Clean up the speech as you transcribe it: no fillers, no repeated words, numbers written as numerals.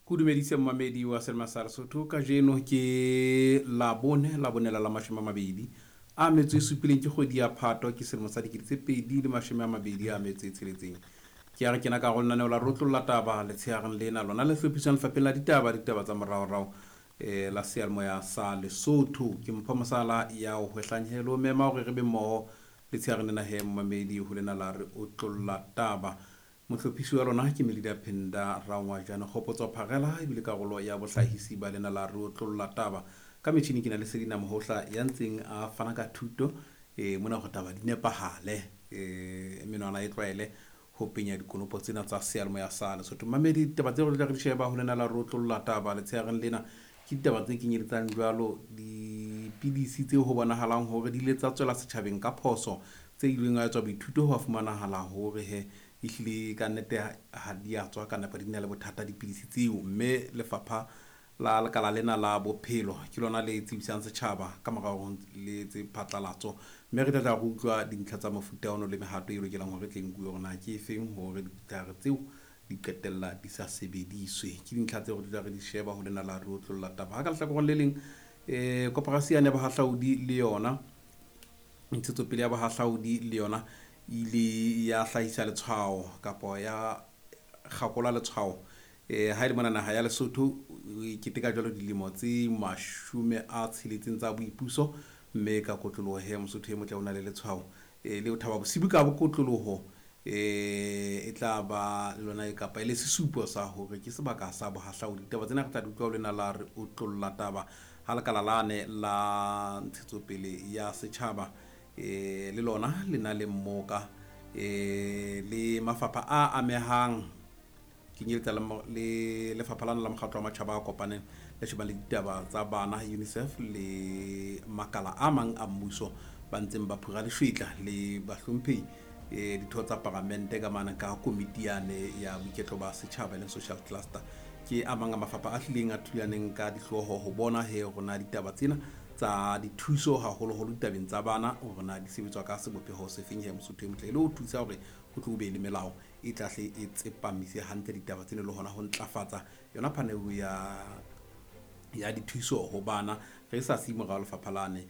Ko dumedise mmamedi wa Selma sa Lesotho. Kajeno ke Labone, Labone la 27 ke kgwedi ya Phato, ke selemo sa 2026. Ke a re kena ka go lenaneo la Rotlolla Taba letshegareng lena lona le hlophiswang lefapheng la ditaba, ditaba tsa moraorao la seyalemoya sa Lesotho. Ke Mpho Mosala ya o hwehlangelo mema hore re be mmoho letshegareng lena he mmamedi ho lena la re otlolla taba. Mohlophisi wa lona ke Melida Phenda Rangwajane Kgopotso Pharela, ebile karolo ya bohlahisi ba lena la re otlolla taba. Ka metjhini ke na le Selina Mohohla ya ntseng a fana ka thuto mona hore taba di nepahale, menwana e tlwaele ho penya dikonopo tsena tsa seyalemoya sa Lesotho. Mamedi, ditaba tseo re tla re di sheba ho lena la re otlolla taba letshegareng lena ke ditaba tse kenyeletsang jwalo dipidisi tseo ho bonahalang hore di ile tsa tswela setjhabeng ka phoso, tse ileng ha etswa boithuto ho fumanahala hore he ehlile ka nnete ha di a tswa ka nepo, di na le bothata dipidisi tseo. Mme lefapha la lekala lena la bophelo ke lona le tsebisang setjhaba ka mora hore le etse phatlalatso, mme re tla tla re utlwa dintlha tsa mofuta ono le mehato e lokelang hore tle nkuwe hore na ke efeng hore ditlhare tseo di qetella di sa sebediswe. Ke dintlha tseo re tla re di sheba ho lena la re otlolla taba. Ha ka lehlakoreng le leng, koporasi yane ya bohahlaudi le yona ntshetsopele ya bohahlaudi le yona ile ya hlahisa letshwao kapa ya kgakola letshwao ha e le mona naha ya Lesotho e keteka jwalo dilemo tse 60 tsa boipuso, mme ka kotloloho he Mosotho e motle o na le letshwao le ho thaba bosibu ka bokotloloho e tla ba le lona e kapa e le sesupo sa hore ke sebaka sa bohahlaudi. Ditaba tsena re tla di utlwa ho lena la re otlolla taba ha lekala lane la ntshetsopele ya setjhaba le lona le na le mmoka le mafapha a amehang, kenyeletsa le lefapha lana la mokgatlo wa matjhaba a kopaneng le shebang le ditaba tsa bana UNICEF le makala a mang a mmuso ba ntseng ba phura leshwetla le bahlomphehi ditho tsa paramente ka mane ka komiti yane ya boiketlo ba setjhaba e leng social cluster. Ke a mang a mafapha a hlileng a thulaneng ka dihlooho ho bona he rona ditaba tsena tsa dithuso haholoholo ditabeng tsa bana hore na di sebetswa ka sebopeho se feng he Mosotho e motle, e le ho thusa hore ho tlo be le melao e tlahle e tsepamise hantle ditaba tsena le hona ho ntlafatsa yona phaneho ya dithuso ho bana re sa siye morao lefapha lane.